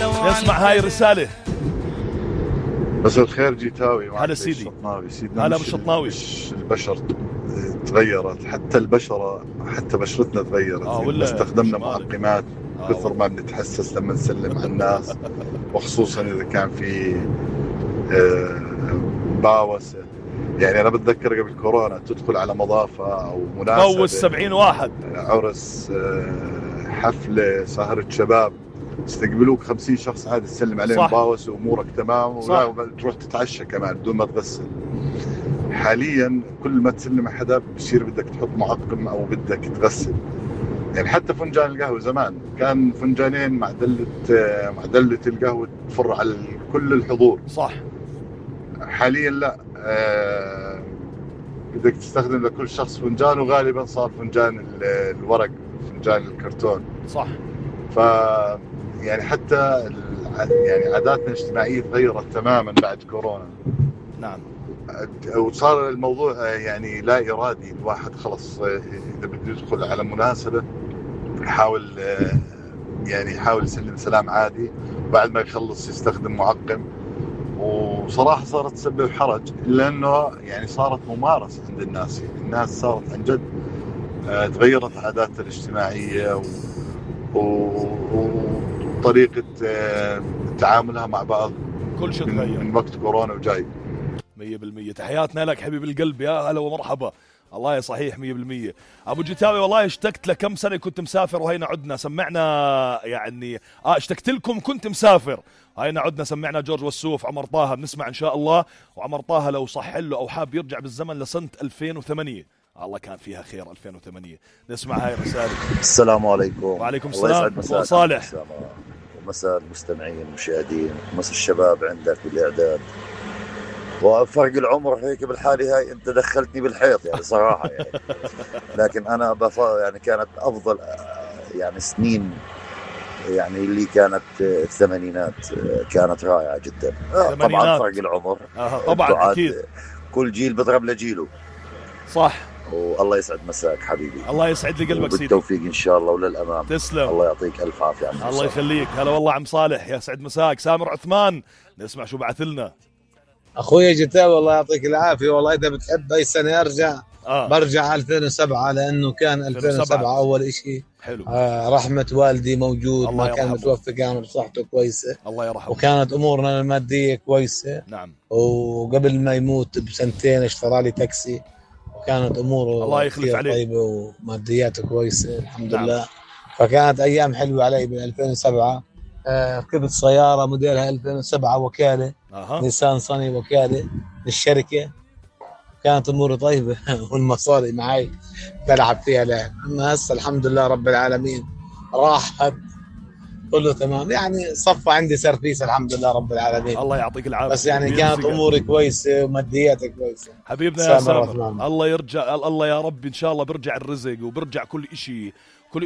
نسمع هاي الرسالة. مساء الخير جيتاوي. هلا سيدي. الشطناوي. هلا بالشطناوي. البشر تغيرت، حتى البشرة، حتى بشرتنا تغيرت. ولا استخدمنا معقمات كثر ما بنتحسس لما نسلم على الناس، وخصوصا إذا كان في باوسة. يعني أنا بتذكر قبل كورونا تدخل على مضافة أو مناسبة، بوس 70 واحد، عرس، حفلة، سهرة شباب، استقبلوك 50 شخص عادي، تسلم عليهم باوس وأمورك تمام، ولا تروح تتعشى كمان بدون ما تغسل. حاليا كل ما تسلم على حدا بصير بدك تحط معقم أو بدك تغسل. يعني حتى فنجان القهوة زمان كان فنجانين مع دلة القهوة تفر على كل الحضور. صح. حاليا لا، بدك تستخدم لكل شخص فنجان، وغالبا صار فنجان الورق، فنجان الكرتون. صح. يعني حتى يعني عاداتنا الاجتماعية تغيرت تماما بعد كورونا. نعم. وصار الموضوع يعني لا إرادي، الواحد خلص إذا بده يدخل على مناسبة يحاول يسلم سلام عادي، وبعد ما يخلص يستخدم معقم. وصراحة صارت تسبب حرج، لأنه يعني صارت ممارسة عند الناس. يعني الناس صارت عن جد تغيرت عاداتها الاجتماعية وطريقة تعاملها مع بعض. كل شيء تغير من وقت كورونا وجاي. 100%. تحياتنا لك حبيب القلب، يا هلا ومرحبا. الله صحيح 100%. أبو جيتاوي والله اشتقت لكم سنة كنت مسافر وهينا عدنا سمعنا، يعني اشتقت لكم كنت مسافر، هينا عدنا سمعنا جورج وسوف، عمر طه بنسمع إن شاء الله. وعمر طه لو صح له أو حاب يرجع بالزمن لسنة 2008، الله كان فيها خير 2008. نسمع هاي الرسالة. السلام عليكم. وعليكم السلام. صالح ومساء المستمعين المشاهدين، مساء الشباب عندك بالإعداد. وفرق العمر هيك بالحالة هاي انت دخلتني بالحيط يعني صراحة يعني. لكن انا يعني كانت افضل يعني سنين يعني اللي كانت الثمانينات كانت رائعة جدا. طبعا فرق العمر طبعا اكيد، كل جيل بضرب لجيله. صح. والله يسعد مساك حبيبي. الله يسعد لي قلبك سيدي. بالتوفيق ان شاء الله وللامام. تسلم. الله يعطيك الف عافية. الله يخليك. هلا والله عم صالح، يا سعد مساك. سامر عثمان نسمع شو بعث لنا. اخويا جتاوي الله يعطيك العافيه. والله اذا بتحب اي سنه ارجع برجع 2007، لانه كان 2007 اول اشي. حلو. رحمه والدي موجود، ما كان متوفى، كان بصحته كويسه الله يرحمه، وكانت امورنا الماديه كويسه. نعم. وقبل ما يموت بسنتين اشترى لي تاكسي، وكانت اموره الله يخلف عليه طيبه ومادياته كويسه الحمد لله. فكانت ايام حلوه علي بال 2007. ركبت سيارة موديلها 2007 وكالة، نيسان صني وكالة للشركة، كانت أموري طيبة والمصاري معي بلعب فيها لعب. أما هسه الحمد لله رب العالمين راحت كله تمام، يعني صفى عندي سيرفيس الحمد لله رب العالمين. الله يعطيك العافية. بس يعني كانت أموري كويسة ومادياتي كويسة حبيبنا يا سامر. الله يرجع، الله يا رب إن شاء الله برجع الرزق وبرجع كل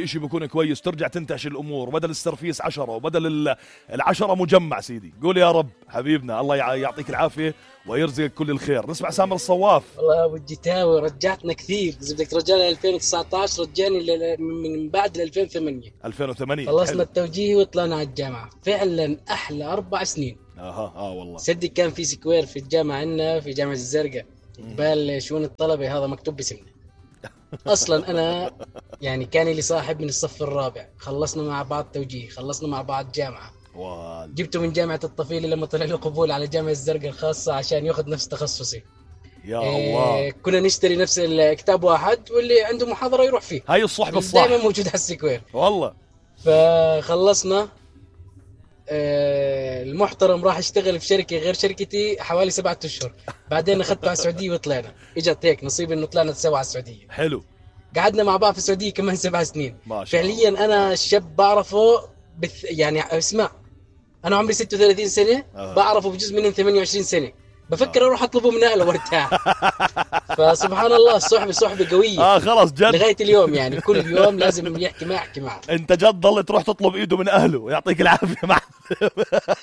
إشي بيكون كويس، ترجع تنتعش الأمور، وبدل السرفيس 10 وبدل 10 مجمع سيدي. قول يا رب حبيبنا، الله يعطيك العافية ويرزقك كل الخير. نسمع سامر الصواف. والله يا أبو الجيتاوي رجعتنا كثير، إذا بدك ترجعني 2019 رجعني من بعد 2008 خلصنا التوجيهي وطلعنا على الجامعة. فعلا أحلى 4 سنين. والله صدق كان في سكوير في الجامعة عندنا في جامعة الزرقاء قبال شؤون الطلبة، هذا مكتوب باسمنا. اصلا انا يعني كان لي صاحب من الصف الرابع، خلصنا مع بعض توجيه، خلصنا مع بعض جامعه، جبته من جامعه الطفيله لما طلع له قبول على جامعه الزرقاء الخاصه عشان ياخذ نفس تخصصي. يا الله. كنا نشتري نفس الكتاب واحد، واللي عنده محاضره يروح فيه. هاي الصحبه الصح دائما موجود على السكوير والله. فخلصنا. المحترم راح اشتغل في شركه غير شركتي حوالي 7 أشهر، بعدين اخذته على السعوديه وطلعنا. اجت هيك نصيب انه طلعنا سوا على السعوديه. حلو. قعدنا مع بعض في السعوديه كمان 7 سنين. ما شاء الله. فعليا انا شاب بعرفه يعني اسمع، انا عمري 36 سنه بعرفه بجزء منهم 28 سنه، بفكر اروح اطلبه من اهله وارتاح. فسبحان الله الصحبه قويه. خلص جد لغايه اليوم، يعني كل يوم لازم يحكي معه. انت جد ضل تروح تطلب ايده من اهله، يعطيك العافيه.